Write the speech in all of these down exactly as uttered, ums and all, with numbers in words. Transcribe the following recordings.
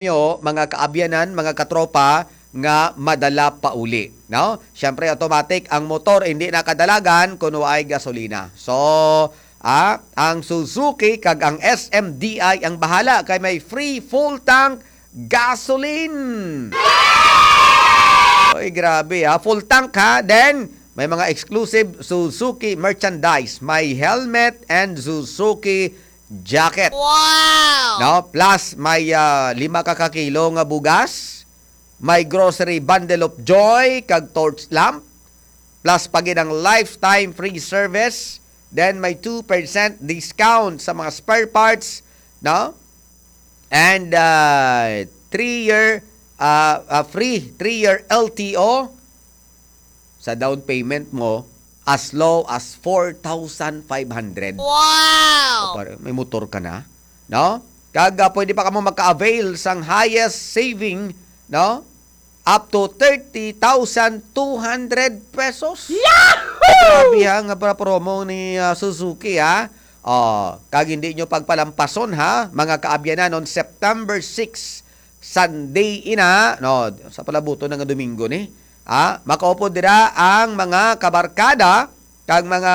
nyo, mga kaabyanan, mga katropa, nga madala pauli, no? Siyempre, automatic ang motor, hindi na kadalagan kung waay gasolina. So, ah, ang Suzuki kag ang S M D I ang bahala kay may free full tank gasoline. Oy, grabe, ha. Full tank, ha. Then, may mga exclusive Suzuki merchandise. May helmet and Suzuki jacket. Wow! No? Plus, may, ah, lima ka kakilo nga bugas. May grocery bundle of joy kag torch lamp. Plus, pa gid ang lifetime free service. Then, may two percent discount sa mga spare parts, no? And, ah, three-year, ah, ah, free three-year L T O sa down payment mo as low as four thousand five hundred. Wow! O, pare, may motor ka na, no? Kag, ah, pwede pa kamo maka-avail sang highest saving, no? Up to thirty thousand two hundred pesos. Yahoo! Grabe, ha, nga para promo ni, ah, Suzuki, ha. Oh, kag hindi nyo pagpalampason, ha, mga kaabyanan, on September six, Sunday ina, no, sa palabuton na nga Domingo ni. Ah, makaupod dira ang mga kabarkada kag mga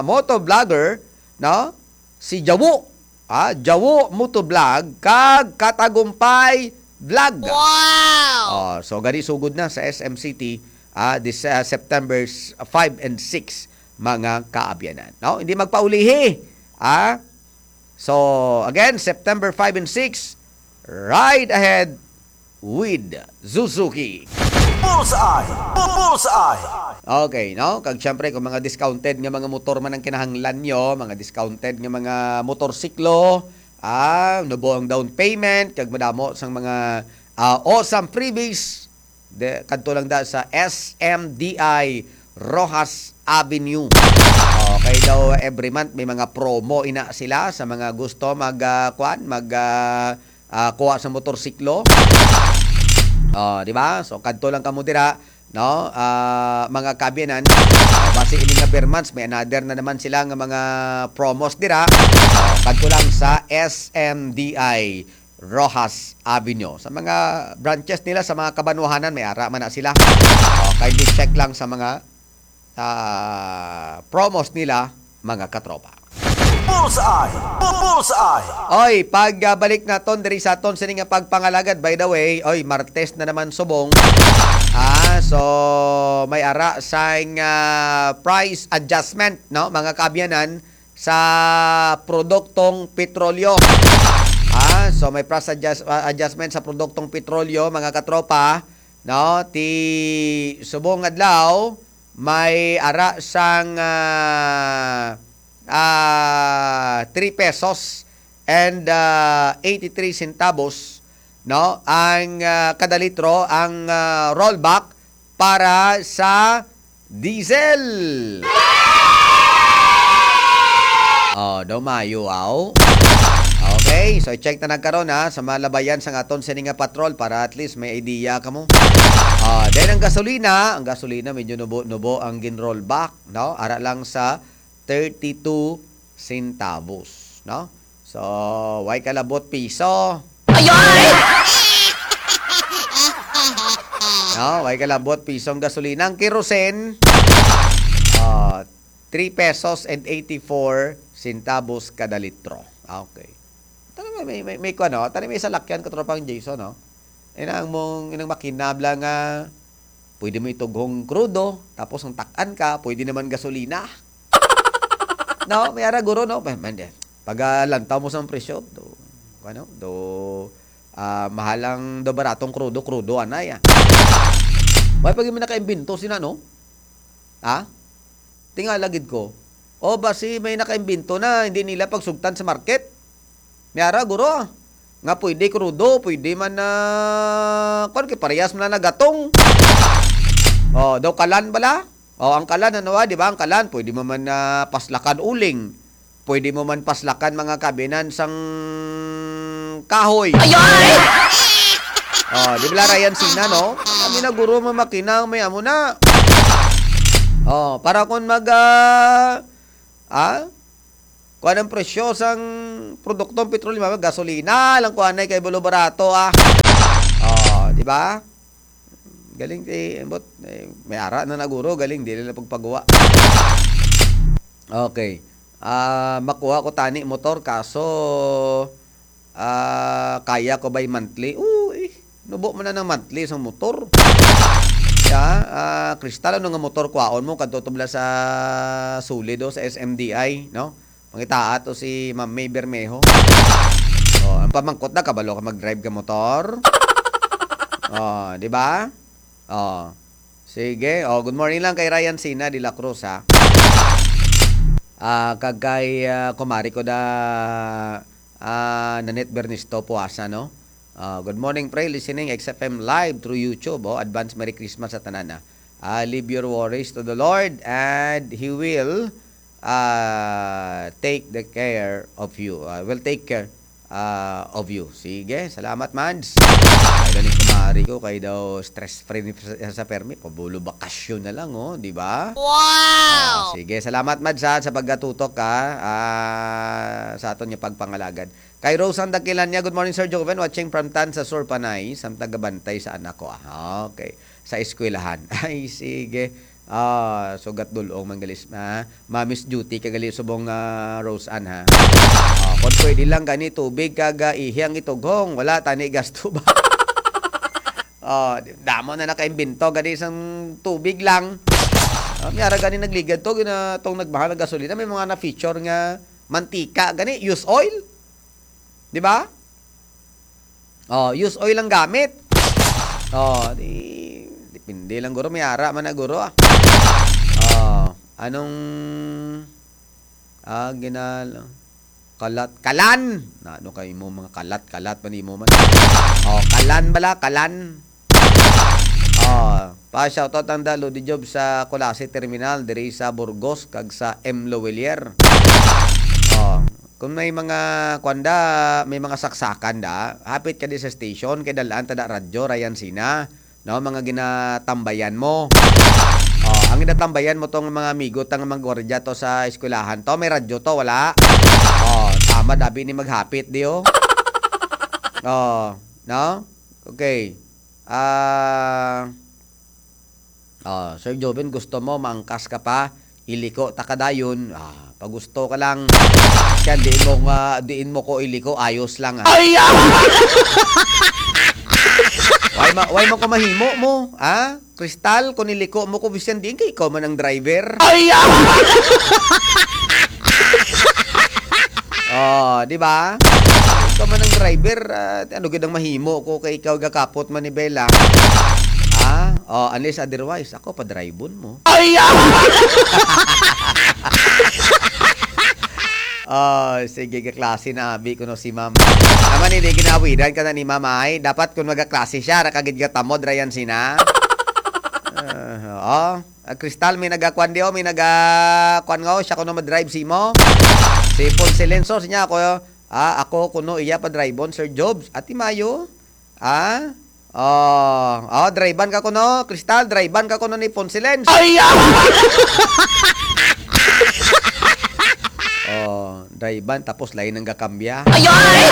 motovlogger, no? Si Jawo, ah, Jawo Motovlog kag Katagumpay Vlog. Wow! Oh, so gani sugod na sa S M City, ah, this, ah, September five and six, mga kaabyanan. No? Hindi magpaulihi, ah. So, again, September five and six, ride ahead with Suzuki. Bullseye! Bullseye! Okay, no? Kag syempre, kung mga discounted nga mga motor man ang kinahanglan nyo, mga discounted nga mga motorsiklo, ah, nubo ang down payment, kag madamo sang mga, ah, awesome freebies, de, kadto lang da sa S M D I Roxas Avenue. Okay daw, every month may mga promo ina sila sa mga gusto mag, ah, kuan, mag, ah, ah, kuha sa motorsiklo. Oh, di ba? So, kadto lang kamo dira, no? Ah, mga kaabyanan. Oh, basi ini nga ber months, may another na naman sila nga mga promos dira. Oh, kadto lang sa S M D I Roxas Avenue. Sa mga branches nila, sa mga kabanwahanan, may ara man na sila. Oh, kindly check lang sa mga, ah, promos nila, mga katropa. Bullseye! Bu-, Bullseye! Oy, pag, ah, balik naton diri sa aton sini nga pagpangalagad, by the way, oy, Martes na naman subong. Ah, so may ara sang, ah, price adjustment, no, mga kaabyanan, sa produktong petrolyo. Ah, so may price adjust-, ah, adjustment sa produktong petrolyo, mga katropa, no? Ti subong adlaw, may ara sang, ah, ah, three pesos and, ah, eighty-three centavos, no? Ang, ah, kada litro, ang, ah, rollback para sa diesel. Oh, daw maayo, aw. Okay, so check na nagkaron, ha, sa malabayan sang aton sini nga patrol para at least may idea kamo. Ah, then ang gasolina, ang gasolina medyo nubo-nubo ang gin-rollback, no? Ara lang sa thirty-two centavos, no? So, way kalabot piso. Ayoy! No, way kalabot piso ang gasolina. Ang kerosene, ah, three pesos and eighty-four centavos kada litro. Ah, okay. Tani may, may, may, may kuwan, no? Tani may salakyan, katropang Jason, no? Inang mong, inang makinabla nga pwede mo itughong krudo, tapos ang takan ka, pwede naman gasolina. No? May ara, guro, no? May, may, pag, ah, lantaw mo sa presyo, do, ano, do, ah, mahalang do baratong krudo, krudo, anay, ah. May pag may nakaimbento sina, no? Ha? Tingala gid ko. O basi may nakaimbento na, hindi nila pagsugtan sa market. May ara, guro, nga pwede krudo, pwede man na, kwan, kay parehas man na nagatong. O, daw kalan bala? O, ang kalan, ano, ah, di ba? Ang kalan, pwede mo man na paslakan uling. Pwede mo man paslakan mga kabinan sang kahoy. Ayoy! O, di ba, Ryan Sina, no? Kami na, guro, mamakina, may amo na. O, para kung mag, ah, ah, Kuan ang presyo sang produktong petrolyo, mga gasolina lang kuan ay kay bulo barato, ah. Oh, di ba? Galing ti, ambot, eh, may ara na naguro, galing, dili na pagpagawa. Okay. Ah, makuha ko tani motor, kaso, ah, kaya ko ba'y monthly? Oo, eh. Nubo mo na ng monthly sa motor. Ya, ah, Crystal, ano nga motor kwaon mo? Kadto to bala sa Sulido, sa S M D I, no? Pangitaa to si Ma'am May Bermejo. Oh, ang pamangkot na, kabalo ka mag-drive ka motor? Oh, di ba? Oh. Sige. Oh, good morning lang kay Ryan Sina de la Cruz, ha. Ah, kag kay, ah, kumari ko da, ah, Nanette Bernisto Puasa, no? Ah, good morning, pre. Listening X F M live through YouTube. Oh, advance Merry Christmas sa tanan, ah. Ah, leave your worries to the Lord and He will, ah, take the care of you. Ah, will take care, ah, of you. Sige, salamat, Mads. Ay, galing kumari ko, kay daw stress free ni sa, sa permi. Pabulo bakasyon na lang, oh, di ba? Wow! Ah, sige, salamat, Mads, ha, sa pagkatutok, ha, ah, sa aton nga pagpangalagad. Kay Rosan Dakilan niya, "Good morning, Sir Joven. Watching from Tan sa Sur, Panay. Samtang gabantay sa anak ko." Ah, okay. Sa eskwelahan. Ay, sige. Ah, sugat dulong man gali, ah, mommy's duty ka gali subong, ah, Rosan, ha. Ah, kung pwede lang gani tubig kag, ah, ihi ang itughong, wala tani gasto ba? Ah, di, damo na nakaimbento gani sang tubig lang. Ah, may ara gani nagligad to, gina-, tong nagmahal ang gasolina, may mga na-feature nga mantika gani, use oil. Di ba? Oh, use oil ang gamit. Oh, di, depende lang guro, may ara man na guro, ah. Oh, anong, ah, ginal-, kalat, kalan. Na, ano kayo mo, mga kalat, kalat pa nimo man. Oh, kalan bala, kalan. Oh, pa shoutout ang dalo di job sa Culasi Terminal diri sa Burgos kag sa M Lowellier. Oh, kung may mga kwanda, may mga saksakan da, hapit ka di sa station kay dalaan ta da radyo, Ryan Sina, no, mga ginatambayan mo. Oh, ang ginatambayan mo tong mga amigo tang mga gwardiya to sa eskwelahan to, may radyo to, wala? Oh, tama dabi ni maghapit di, oh. Oh, no? Okay. Ah, ah, Sir Joven, gusto mo maangkas ka pa? Iliko ta ka dayon. Ah, pagusto ka lang. Siya, diin mo nga, diin mo ko iliko, ayos lang, ah. Ay, ah! Why ma-, why mo ko mahimo mo, ha? Crystal, kung iliko mo ko, bisan diin kay ikaw man ang driver. Ay, ah! Oh, di ba? Ikaw man ang driver, ah, ano gid ang mahimo ko kay ikaw gakapot man ni Bella? Ha? Oh, unless otherwise, ako pa drivon mo. Ay, ah! Oh, sige, kaklase na abi ko no si ma'am. Naman hindi ginawidan ka na ni ma'am ay. Dapat kung magaklase siya, ra kagid gatamod, Ryan Sina. Ah, oh. Ah, Crystal, may nagakuan di, oh, may nagakuan nga, oh, siya kuno madrive si mo. Si Ponce Lenso, siya ako, ah, ako kuno iya pa drive-on, Sir Jobs. Ati Mayo, ah, oh, oh, drive-an ka kuno, Crystal, drive-an ka kuno ni Ponce Lenso. Ay, ah! Oh, drive-an, tapos lain ang gakambya. Ay, ay!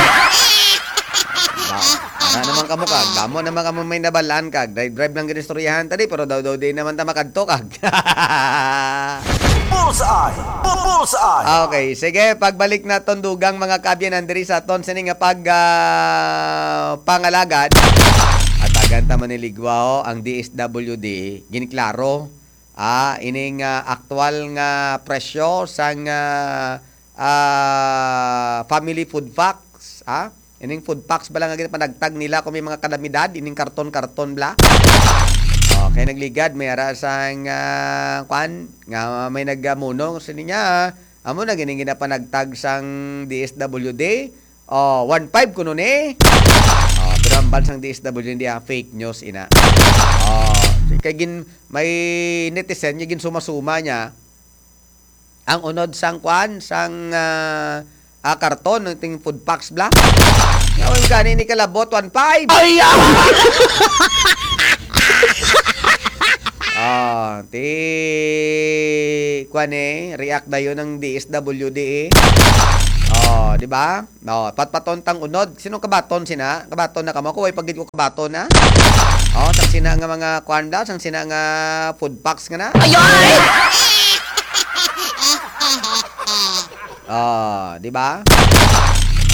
Ba, ara naman kamo kag, damo naman kamo may nabalaan kag, drive-drive lang gid istoryahan ta di, pero daw daw di naman ta makadto kag. Bullseye! Bu-, Bullseye! Okay, sige, pagbalik naton dugang mga kaabyanan diri sa aton sini nga pag, ah, pangalagad. Atagan ta man ni Ligwa, oh, ang D S W D, giniklaro, ah, ining, ah, aktual nga presyo sang, ah, ah, family food packs, ah. Ining food packs bala nga ginapanagtag nila kung may mga kalamidad, ining karton-karton bala. Oh, kay nagligad, may ara sang, ah, kwan, nga may nagamunong sa niya. Amo na gining ginapanagtag sang D S W D. Oh, one five kuno ni. Oh, pero ang bansang D S W D, ah, fake news ina. Oh, kay gin-, may netizen nga ginsuma-suma niya ang unod sang kwan, sang, ah, ah, karton, ang ting food packs bla. Nga, ang gani ni kalabot, one five. Ay, ah! Ah, ti kuan eh, react dayon ang D S W D eh. Oh, di ba? No, patpaton tang unod. Sino kabaton sina? Kabaton na kamo? Ako, way pagid ko kabaton na. Oh, sang sina nga mga kuan da, sang sina nga food packs nga na. Ayoy! Oh, di ba?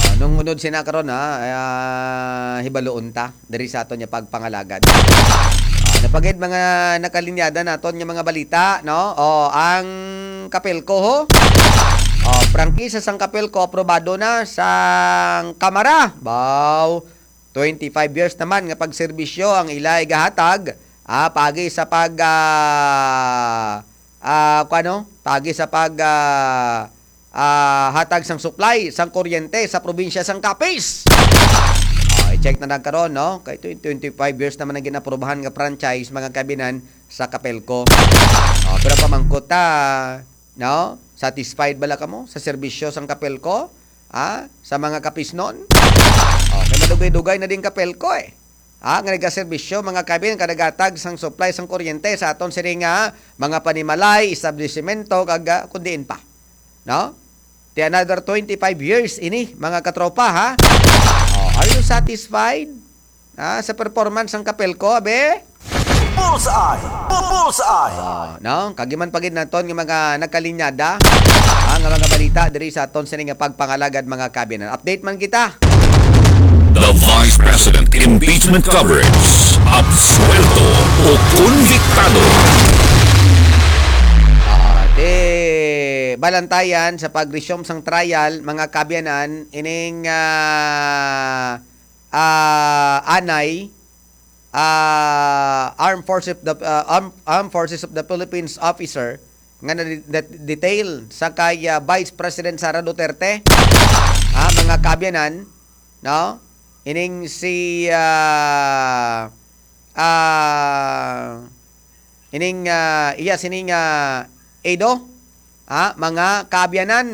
Oh, nung unod sina karon ha, ah, hibaluon ta diri sa aton nga pagpangalagad. Ah, napagid mga nakalinyada naton nga mga balita, no? O, ang Kapelco, ho? O, prangkisa sang Kapelco aprobado na sang Kamara. Baw, twenty-five years naman nga pagserbisyo ang ila igahatag, ah, pagi sa pag, ah, ah, kuano? Pagi sa pag, ah, ah, hatag sang supply sang kuryente sa probinsya sang Capiz. Ah, i-check na lang karon, no? Kay tw-, twenty-five years naman ang ginaprobahan nga franchise, mga kabinan, sa Kapelco. Ah, pero pamangkot ta, no? Satisfied bala kamo sa serbisyo sang Kapelco? Ah, sa mga Kapiznon? Okay, madugay-dugay na din Kapelco eh. Ah, nga nagaserbisyo, mga kabinan, kanagatag sang supply sang kuryente sa aton sini nga mga panimalay, establisimento, kag, ah, kun diin pa. No? Ti another twenty-five years ini, mga katropa, ha? Oh, are you satisfied? Ha, sa performance sang Kapelco, abe? Bullseye! Bu-, Bullseye! Oh, no? Kagiman pa gid naton nga mga nagkalinyada, ha, nga mga balita diri sa aton sini nga pagpangalagad, mga kabinan. Update man kita. The Vice President Impeachment Coverage. Absuelto o konbiktado? Ah, di balantayan sa pag-resume sang trial, mga kabiyanan, ining, ah, ah, anay, ah, Armed Forces of the, ah, Armed, Armed Forces of the Philippines officer nga na-, na-detail sa kay, ah, Vice President Sara Duterte, ah, mga kabiyanan, no? Ining si, ah, ah, ining, ah, iya sining, ah, Edo, ha, mga kaabyanan.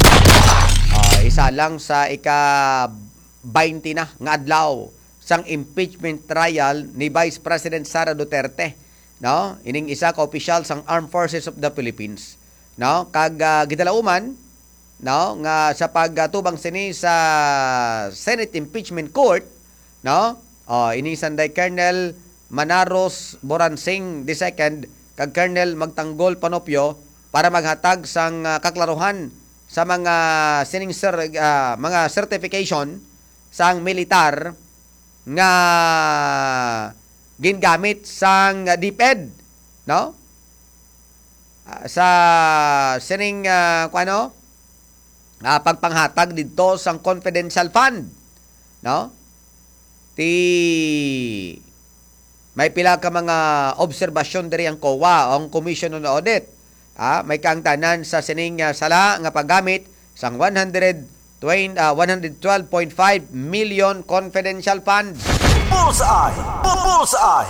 Ah, isa lang sa ika-baynte na nga adlaw sang impeachment trial ni Vice President Sara Duterte, no? Ining isa ka opisyal sang Armed Forces of the Philippines, no? Kag, ah, gidalauman, no, nga sa pagtubang sini sa Senate Impeachment Court, no? Oh, ini sanday Colonel Manaros Boransing the second kag Colonel Magtanggol Panopio para maghatag sang, ah, kaklaruhan sa mga sining cer-, ah, mga certification sang militar nga gingamit sang DepEd, no? Ah, sa sining, ah, kuano? Ah, pagpanghatag didto sang confidential fund, no? Ti may pila ka mga obserbasyon diri ang COA, ang Commission on Audit. Ah, may kaangtanan sa sining, ah, sala nga paggamit sang one hundred twenty, ah, one hundred twelve point five million confidential funds. Bullseye! Bu-, Bullseye!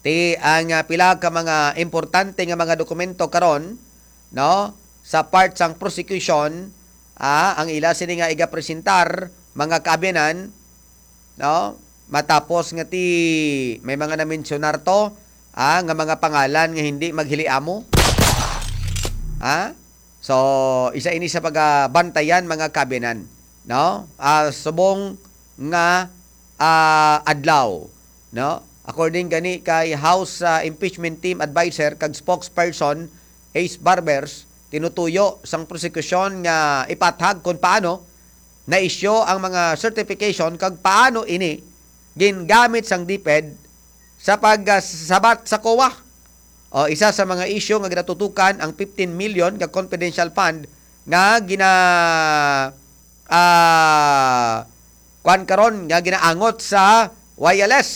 Ti ang, ah, pila ka mga importante nga mga dokumento karon, no, sa part sang prosecution, ah, ang ila sini nga igapresentar, mga kaabyanan, no, matapos nga ti may mga na-mensionar to, ah, nga mga pangalan nga hindi maghiliamo. Ah? So, isa ini sa pagabantayan, mga kaabyanan, no? Ah, subong nga, ah, adlaw, no? According gani kay House, ah, Impeachment Team Advisor kag Spokesperson Ace Barbers, tinutuyo sang prosekusyon nga ipathag kon paano na-issue ang mga certification kag paano ini gingamit sang DepEd sa pagsabat sa COA. O, isa sa mga isyu nga ginatutukan ang fifteen million nga confidential fund nga gina-, ah, kuwan karon nga ginaangot sa Y L S.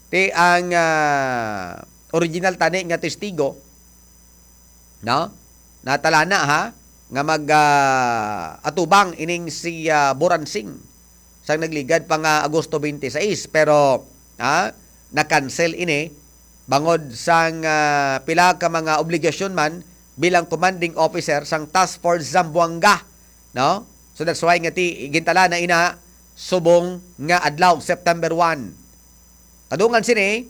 Ti ang, ah, original tani nga testigo, no? Natalana, ha, nga mag, ah, atubang ining si, ah, Boransing sang nagligad pa nga Agosto twenty-six, pero, ah, na-cancel ini bangod sang, ah, pila ka mga obligasyon man bilang commanding officer sang Task Force Zamboanga, no? So that's why nga ti-, gintalana ina subong nga adlaw, September one. Kadungan sini,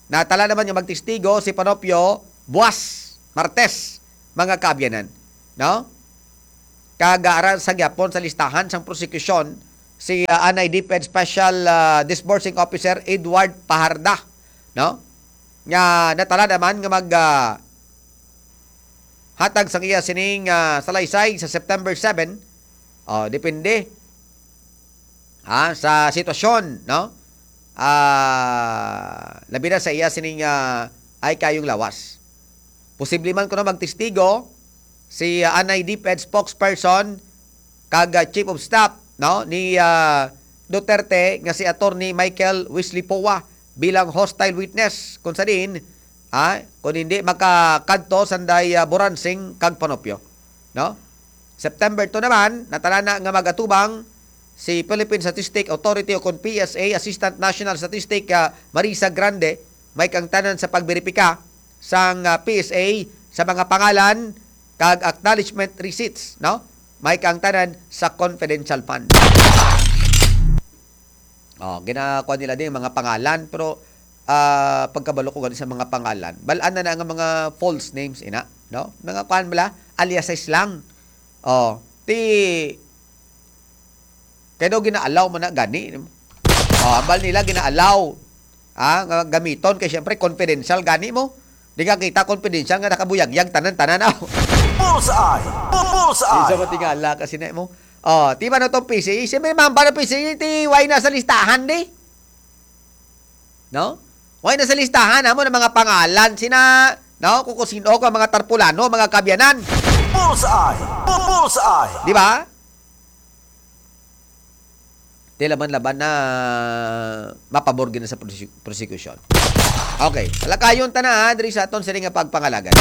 Natala naman nga magtestigo si Panopio buwas, Martes, mga kaabyanan, no? Kag, ah, ara sa gyapon sa listahan sang prosekusyon si, ah, Anay DepEd Special, ah, Disbursing Officer Edward Paharda, no? Nga natala naman nga mag, ah, hatag sang iya sining, ah, salaysay sa September seven. Oh, depende, ha, sa sitwasyon, no? Ah, labi na sa iya sining, ah, ay kayong lawas. Posible man kuno magtestigo si, ah, Anay DepEd spokesperson kag, ah, Chief of Staff, no, ni, ah, Duterte nga si Attorney Michael Wesley Poa bilang hostile witness, kung sa diin, ah, kung hindi makakadto sanday, ah, Boransing kag Panopio, no? September two naman, natalana nga magatubang si Philippine Statistic Authority o kon P S A Assistant National Statistic, ah, Marisa Grande, may kaangtanan sa pagberipika sang, ah, P S A sa mga pangalan kag acknowledgement receipts, no? May kaangtanan sa confidential fund. Oh, ginakuha nila din mga pangalan, pero, ah, pagkabalo ko gani sa mga pangalan, bal-an na na nga mga false names, ina, no? Mga kuan bala, aliases lang. Oh, ti, kay daw gina-allow man na gani. Oh, ambal nila gina-allow, ah, nga gamiton kay siyempre confidential gani mo. Di ka kita confidential nga nakabuyagyag tanan-tanan, oh. Bullseye! Bu-, bullseye! Isa matingala kasi na mo. Oh, di ba no tong P C A? Siyempre, mamba na P C A, ti, why na sa listahan, di? No? Why na sa listahan, amo na mga pangalan, sina, no? Kung, kung sino ka, mga tarpulano, mga kabyanan. Bullseye! Bu-, bullseye! Di ba? Di laban-laban na mapabor gid na sa prosec-, prosecution. Okay, palakayon ta na, ha, diri sa aton sini nga pagpangalagan.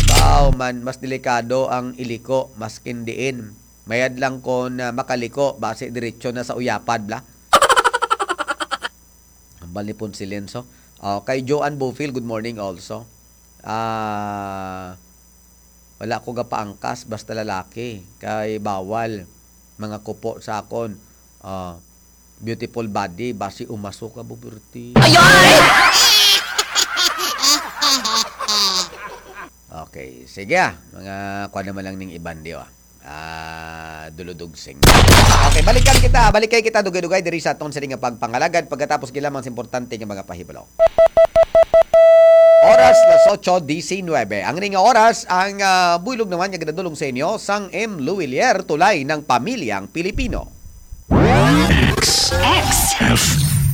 Wow, man, mas delikado ang iliko, maskin diin. Mayad lang kon, ah, makaliko, basi diretso na sa uyapad, bla. Hambal ni Ponce Lenso. Oh, kay Joanne Bufil, good morning also. Ah, wala ko gapaangkas, basta lalaki. Kay bawal. Mga kupo sa akon. Ah, beautiful body, basi umaso ka, bubirti. Ayoy! Okay, sige, ah. Mga kuha naman lang ning iban, di ba? Ah, duludugsing. Okay, balikan kita. Balikay kita, dugay-dugay, diri sa aton sini nga pagpangalagad. Pagkatapos, gilamang sa importante nga mga pahibalo. Oras, las ocho diecinuebe. Ang ini nga oras, ang, ah, buylog naman nga ginadulong sa inyo sang M. Luwilier, tulay ng pamilyang Pilipino. X. X. F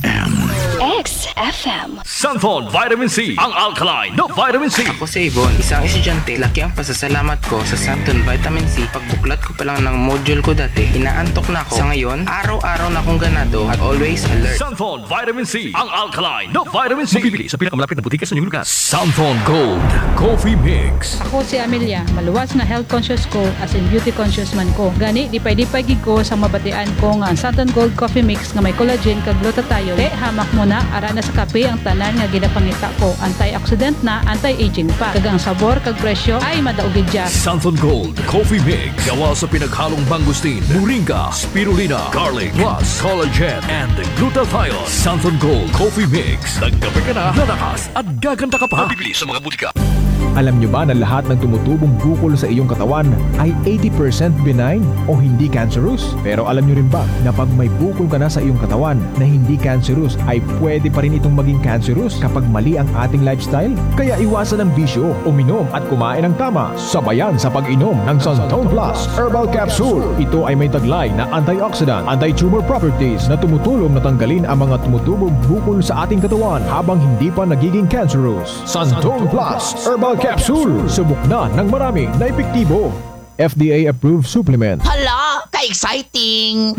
M. X F M. Santhon Vitamin C, ang alkaline na vitamin C. Ako si Ivon, isang estudyante. Laki ang pasasalamat ko sa Santon Vitamin C. Pagbuklat ko pa lang ng module ko dati, inaantok na ako. Sa ngayon, araw-araw na akong ganado at always alert. Santhon Vitamin C, ang alkaline na vitamin C. Mabibili sa pinakamalapit na butika sa inyong lugar. Santhon Gold Coffee Mix. Ako si Amelia, maluwas nga health conscious ko, as in beauty conscious man ko. Gani, dipay-dipay gid ko sa mabatian ko nga ang Santon Gold Coffee Mix nga may collagen kag glutathione. Te, hamak mo na, ara na sa kape ang tanan nga ginapangita ko. Antioxidant na, anti-aging pa. Kag ang sabor kag presyo ay madaog gid siya. Santon Gold Coffee Mix. Gawa sa pinaghalong mangosteen, moringa, spirulina, garlic, plus collagen and glutathione. Santon Gold Coffee Mix. Nagkape ka na, lalakas at gaganda ka pa. Mabibili sa mga butika. Alam nyo ba na lahat ng tumutubong bukol sa iyong katawan ay eighty percent benign o hindi cancerous? Pero alam nyo rin ba na pag may bukol ka na sa iyong katawan na hindi cancerous, ay pwede pa rin itong maging cancerous kapag mali ang ating lifestyle? Kaya iwasan ang bisyo, uminom at kumain ng tama, sabayan sa pag-inom ng Santon Plus Herbal Capsule. Ito ay may taglay na antioxidant, anti-tumor properties na tumutulong na tanggalin ang mga tumutubong bukol sa ating katawan habang hindi pa nagiging cancerous. Santon Plus Herbal Capsule. Subok na ng marami na epektibo. F D A approved supplement. Hala, ka-exciting!